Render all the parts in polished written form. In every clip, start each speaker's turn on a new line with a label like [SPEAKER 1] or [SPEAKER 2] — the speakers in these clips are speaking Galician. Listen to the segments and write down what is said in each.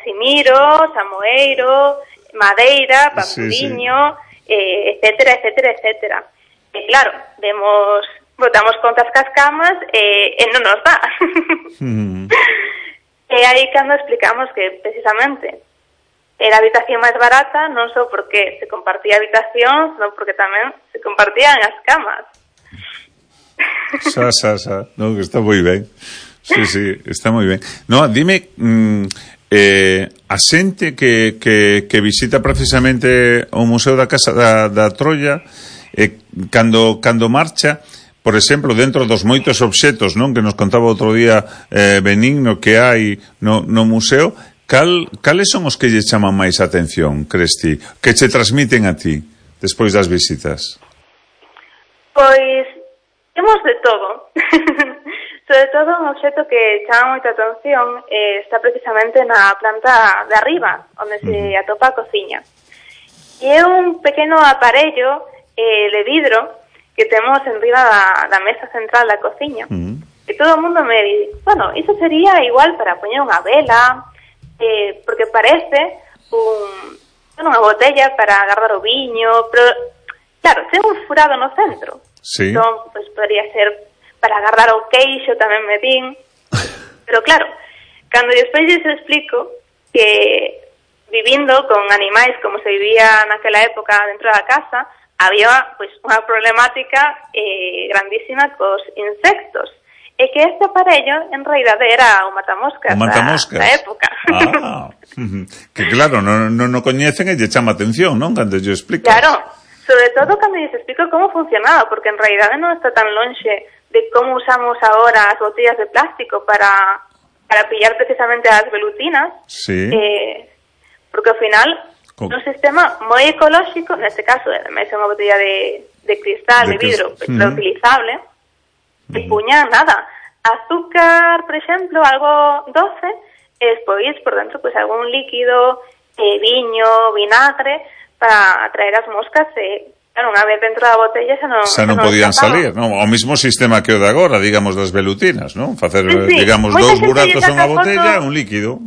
[SPEAKER 1] Casimiro, Samoeiro, Madeira, Pampuriño, etcétera, etcétera, etcétera. E claro, botamos contas cas camas e non nos dá. E aí cando explicamos que precisamente era a habitación máis barata non só porque se compartía a habitación, senón porque tamén se compartían as camas.
[SPEAKER 2] No, que está moi ben. Sí, está moi ben. No, dime, a xente que visita precisamente o Museo da Casa da Troia, cando marcha, por exemplo, dentro dos moitos obxetos, non, que nos contaba outro día Benigno que hai no museo, cales son os que lle chaman máis atención, crees ti, que che transmiten a ti despois das visitas?
[SPEAKER 1] Pois temos de todo. Sobre todo un obxeto que chama moita atención está precisamente na planta de arriba, onde se atopa a cociña. E é un pequeno aparello de vidro que temos en riba da mesa central da cociña. E todo o mundo me di, bueno, iso sería igual para poñer unha vela, porque parece unha botella para agarrar o viño, pero, claro, ten un furado no centro.
[SPEAKER 2] Sí.
[SPEAKER 1] Entón, pues, podría ser para agarrar o queixo, tamén me din. Pero, claro, cando despois lles explico que vivindo con animais como se vivía naquela época dentro da casa, había, pues, unha problemática grandísima cos insectos. E que este aparello, en realidade, era o matamoscas da época. Que claro, non coñecen e lle chama atención, non? Cando lle explicas. Claro, sobre todo cando lles explico como funcionaba, porque en realidade non está tan lonxe de como usamos agora as botellas de plástico para pillar precisamente as velutinas.
[SPEAKER 2] Sí.
[SPEAKER 1] Porque ao final un sistema moi ecolóxico, neste caso, ademais é unha botella de cristal, de vidro, reutilizable, e puña nada, azúcar, por exemplo, algo doce, e despois por dentro pues algún líquido, viño, vinagre, para atraer as moscas e, claro, unha vez dentro da botella xa non
[SPEAKER 2] podían salir, non? O mismo sistema que o de agora, digamos, das velutinas, non? Facer, digamos, dous buratos a unha botella e un líquido.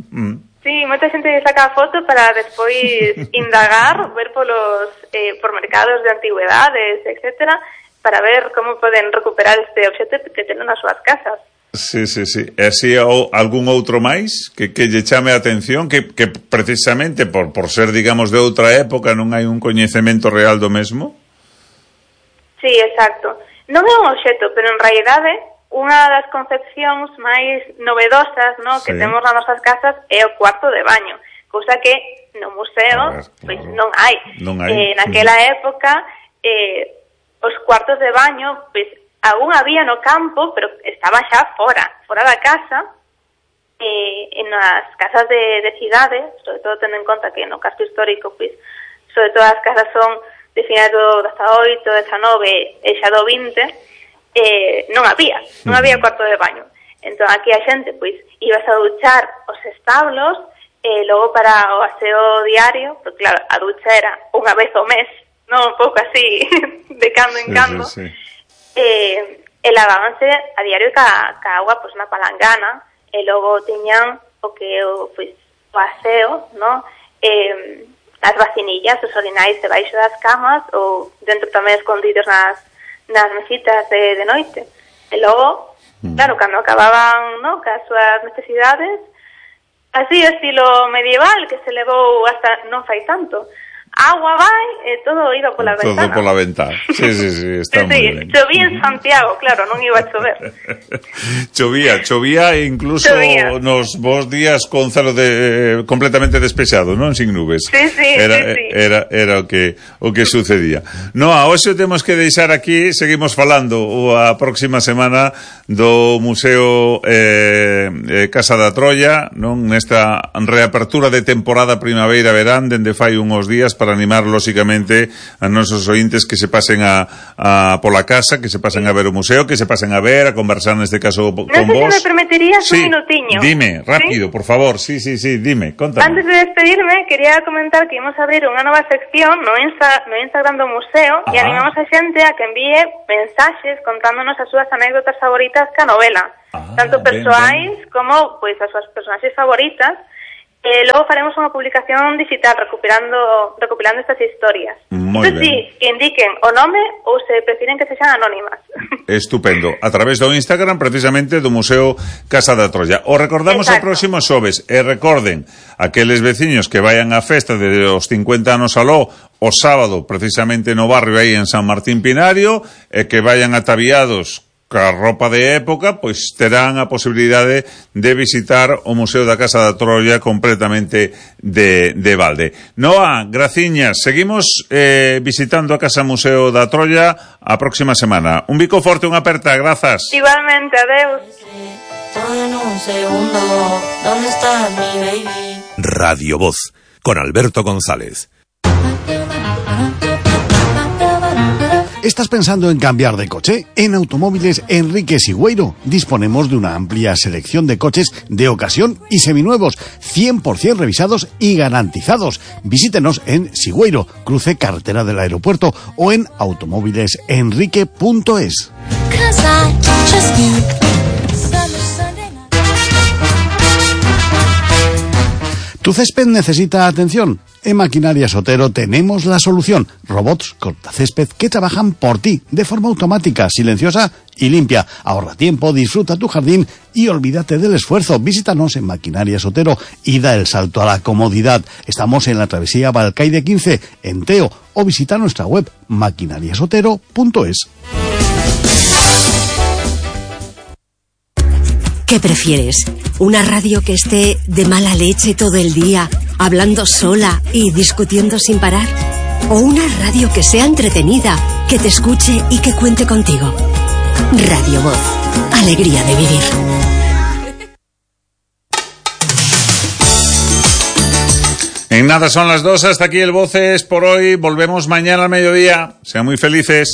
[SPEAKER 1] Sí, moita xente saca a foto para despois indagar, ver por mercados de antigüedades, etcétera, para ver como poden recuperar este obxeto que tenen nas súas casas.
[SPEAKER 2] Sí. E así algún outro máis que lle chame a atención, que precisamente por ser, digamos, de outra época non hai un coñecemento real do mesmo?
[SPEAKER 1] Sí, exacto. Non é un obxeto, pero en realidade unha das concepcións máis novedosas, ¿no?, que temos nas nosas casas é o cuarto de baño, cousa que no museo pois non hai. Naquela época os cuartos de baño, pois algún había no campo, pero estaba xa fora da casa, en as casas de cidade, sobre todo tendo en conta que no casco histórico, pois, sobre todo as casas son de finais do 18, 19 e xa do 20, non había cuarto de baño. Entón aquí a xente, pois, ibas a duchar os establos, logo para o aseo diario, porque claro, a ducha era unha vez ao mes, non, un pouco así, de cando en cando.
[SPEAKER 2] Sí.
[SPEAKER 1] E lavábanse a diario ca agua, pois, na palangana, e logo tiñan o que o aseo, no? As vacinillas, os orinais debaixo das camas ou dentro tamén escondidos nas mesitas de noite. E logo, claro, cando acababan, no, cas súas necesidades, así estilo medieval que se levou hasta non fai tanto, agua vai e todo iba pola ventana.
[SPEAKER 2] Todo pola ventana. Sí, está moi ben.
[SPEAKER 1] Chovía en Santiago, claro, non iba a chover.
[SPEAKER 2] Chovía e incluso nos vos días con celo completamente despexado, non? Sin nubes.
[SPEAKER 1] Sí.
[SPEAKER 2] Era o que sucedía. No, a hoxe temos que deixar aquí, seguimos falando a próxima semana do Museo Casa da Troia, non? Nesta reapertura de temporada primavera-verán, dende fai uns días, para animar, lóxicamente, a nosos ointes que se pasen pola casa, que se pasen a ver o museo, que se pasen a ver, a conversar neste caso con vos.
[SPEAKER 1] Non sei se me permitirías un minutiño.
[SPEAKER 2] Dime, rápido, por favor. Sí, dime, contame.
[SPEAKER 1] Antes de despedirme, quería comentar que ímos a abrir unha nova sección no Instagram do museo e animamos a xente a que envíe mensaxes contándonos as súas anécdotas favoritas ca novela, tanto persoais como, pois, as súas personaxes favoritas. Logo faremos unha publicación digital recopilando estas historias.
[SPEAKER 2] Moi ben.
[SPEAKER 1] Sí, que indiquen o nome ou se prefiren que sexan anónimas.
[SPEAKER 2] Estupendo. A través do Instagram, precisamente, do Museo Casa da Troia. O recordamos o próximo xoves. E recorden, aqueles veciños que vayan á festa de os 50 anos aló, o sábado, precisamente no barrio aí en San Martín Pinario, e que vayan ataviados ca roupa de época, pois terán a posibilidade de visitar o Museo da Casa da Troia completamente de balde. Noa, graciñas, seguimos visitando a Casa Museo da Troia a próxima semana. Un bico forte, unha aperta, grazas.
[SPEAKER 1] Igualmente, adeus.
[SPEAKER 3] Todo en un segundo, ¿dónde estás, mi baby?
[SPEAKER 4] Radio Voz, con Alberto González.
[SPEAKER 5] ¿Estás pensando en cambiar de coche? En Automóviles Enrique Sigüeiro disponemos de una amplia selección de coches de ocasión y seminuevos, 100% revisados y garantizados. Visítenos en Sigüeiro, cruce carretera del aeropuerto, o en automóvilesenrique.es. ¿Tu césped necesita atención? En Maquinaria Sotero tenemos la solución. Robots cortacésped que trabajan por ti de forma automática, silenciosa y limpia. Ahorra tiempo, disfruta tu jardín y olvídate del esfuerzo. Visítanos en Maquinaria Sotero y da el salto a la comodidad. Estamos en la travesía Balcaide 15, en Teo, o visita nuestra web maquinariasotero.es.
[SPEAKER 6] ¿Qué prefieres? ¿Una radio que esté de mala leche todo el día, hablando sola y discutiendo sin parar? ¿O una radio que sea entretenida, que te escuche y que cuente contigo? Radio Voz. Alegría de vivir.
[SPEAKER 2] En nada son las 2, hasta aquí el Voces por hoy. Volvemos mañana al mediodía. Sean muy felices.